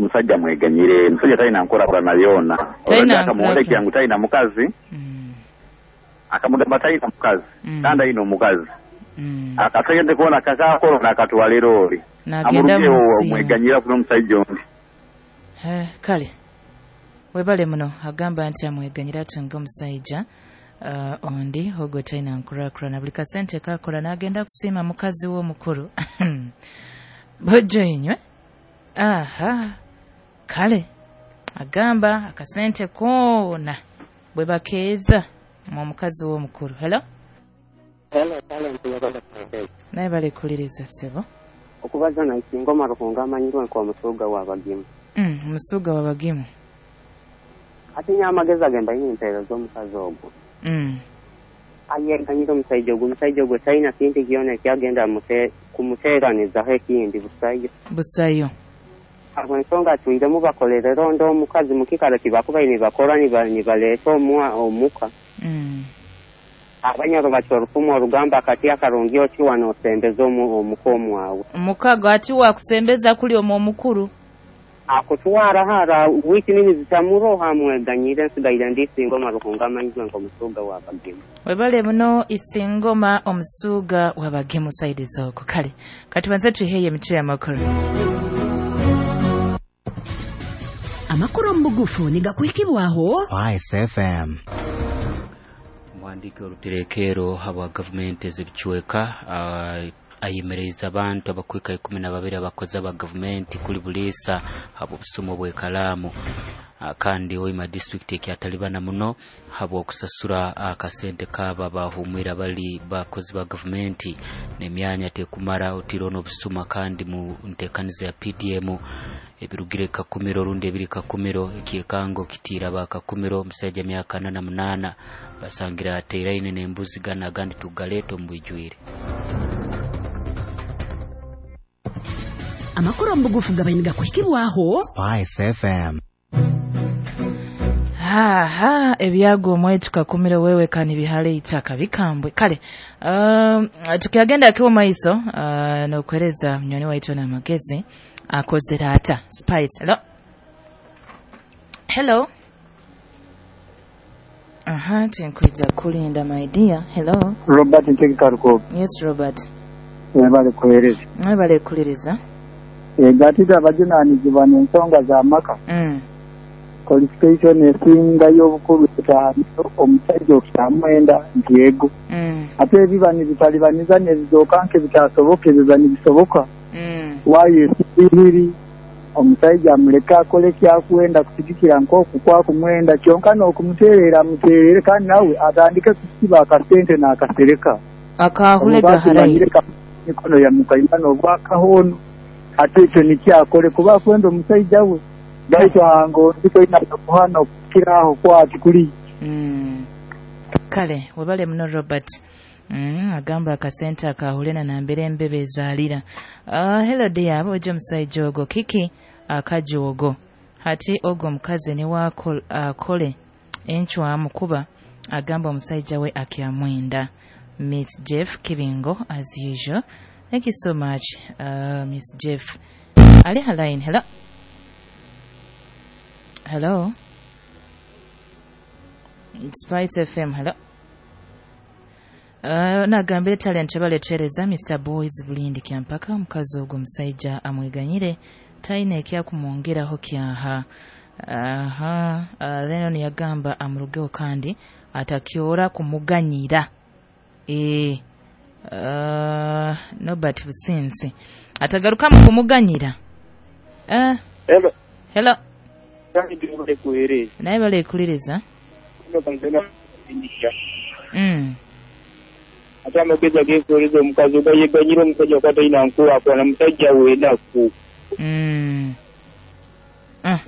Omusajja mweganyire, omusajja talina nkulakulana yoona. Talina Akamwolekera ngu talina mukazi, akamugamba talina mukazi, kandi alina omukazi. Akasente koona kakakolo n'akatwala eroori. Nagenda Amulugewo musiima. omweganyira kuno omusajja ondi. Kale webale muno. Agamba nti amweganyira atunge omusajja ondi ogwo talina nkulakulana, buli kasente kakola n'agenda kusiima mukazi we omukulu. Bojjo inywe. Aha, kale agamba akasente koona bwe bakeeza mu mukazi we omukulu. Hello. Hello, Talent yabale kuhereza. Naye balekuliriza ssebo. Okubaza na Isingoma Ruhunga amanyirwe nk'omusuuga w'abagimu. Omusuuga w'abagimu. Ate nnyo amagezi agemba yine empeereza omukazi ogwo. Ayeganyira omusajja ogwo, omusajja ogwo talina kintu kyona ekyagenda kumuteeranizaho ekindi busayo. Busayo. Abo ensonga atwiremu bakolere rondo omukazi mu kikaro kibakubaire nibakora nibaleeta omuka. Abanyoro batyo orufumu orugamba akati akarungi okiwa n'osembeza omuka omwawe. Omukago ati wakusembeza kuli omwo omukulu. Akutwara hara wiki nini zitamuroha amweganyire nsigaire ndi Isingoma Ruhunga amanyirwe nk'omusuuga w'abagimu. Webale muno Isingoma omusuuga w'abagimu saidi z'okwo. Kale katubanze tuheeye emitwe y'amakulu. Amakuru mu bugufu nigakuhikibwaho Spice FM. Muhandiiki oruterekero habwa gavumenti ez'ebicweka ayemereza abantu abakwika 12 abakozi aba gavumenti kuli buliisa habw'obusumo bw'ekalaamu. Kandi Hoima district ekyatalibana muno habw'okusasura akasente kaaba bahumwire bali bakozi ba gavumenti n'emyanya tekumara otiro n'obusuma. Kandi mu ntekaniza ya PDM ebirugire Kakumiro rundi ebiri Kakumiro ekyekango kitiira ba Kakumiro omusajja myaka 48 basangira ateeraine n'embuzi gana agandi tugaleeta omu bwijwire. Amakuru mu bugufu gabaine gakuhikibwaho Spice FM. Aha, ebyago omwetu Kakumiro wewe kani bihale itaka bikambwe. Kale tukiagenda akiwa maiso n'okuhereza mnyoni waitu na magezi akozera ata. Spice. Hello. Hello. Aha, tinkwija kulinda my dear. Hello. Robert Ntegekaruko. Yes Robert. Webale kuhereza. Webale kuliriza. Gatita abajunaanizibwa n'ensonga z'amaka. Qualification esinga y'obukulu etaano omusajja okukyamwenda nti ego. Ate ebiba nibitalibaniza nebizooka nke bitasoboka ebiba nibisoboka. Waayo esibiri omusajja amuleke akole kyakwenda kusigikira nk'oku kwakumwenda kyonka n'okumuteerera amuteerere kandi nawe atandike kusiba akasente n'akasereka. Akahule gaharayi. Mikono ya mukaimana obwakahono ate ekyo nikyakole kuba akwenda omusajja we. Baitu hango ndiko ina kuhana okukiraho kwati kuli. Kale webale muno Robert. Agamba akasente akahulena na mbere embebe ezaalira. Hello dear, abo omusajja ogwo kiki akajogo hati ogwo omukazi ne akole enchwamu kuba agamba omusajja we akyamwenda. Miss Jeff Kibingo as usual. Thank you so much Miss Jeff. Ali halain. Hello. Hello. Spice FM. Hello. Nagambire Talent baletereza Mr. Boys Bulindi kyampaka omukazi ogwo omusajja amweganyire taine ekyakumwongeraho kyaha. Aha, Lennon yagamba amurugeho kandi atakyora kumuganyira. Norbert Businsi atagaruka mu kumuganyira. Hello. Hello. Naye balekuliriza. Ate amagezi ageekuweereza omukazi ogayeganyira omusajja kuba talina nkulaakulana musajja w'ennaku.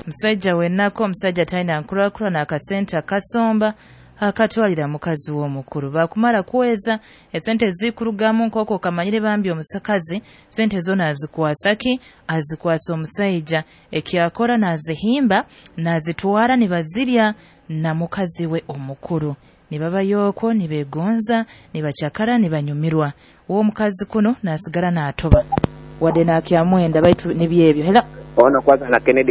Musajja w'ennaku, omusajja talina nkulaakulana, akasente akasomba akatwalira mukazi w'omukulu. Bakumala kuweza esente zikurugamu nk'okwo kamanyire bambi omusakazi sente zona azikwasa ki? Azikwasa omusajja ekyakora n'azihimba n'azitwara nibazirya na mukazi we omukulu. Nibabayoko nibegonza nibachakara nibanyumirwa. Uwo mukazi kuno nasigara n'atoba wadde n'akyamwenda baitu nibyebyo. Hello. Ono kwanza na Kennedy.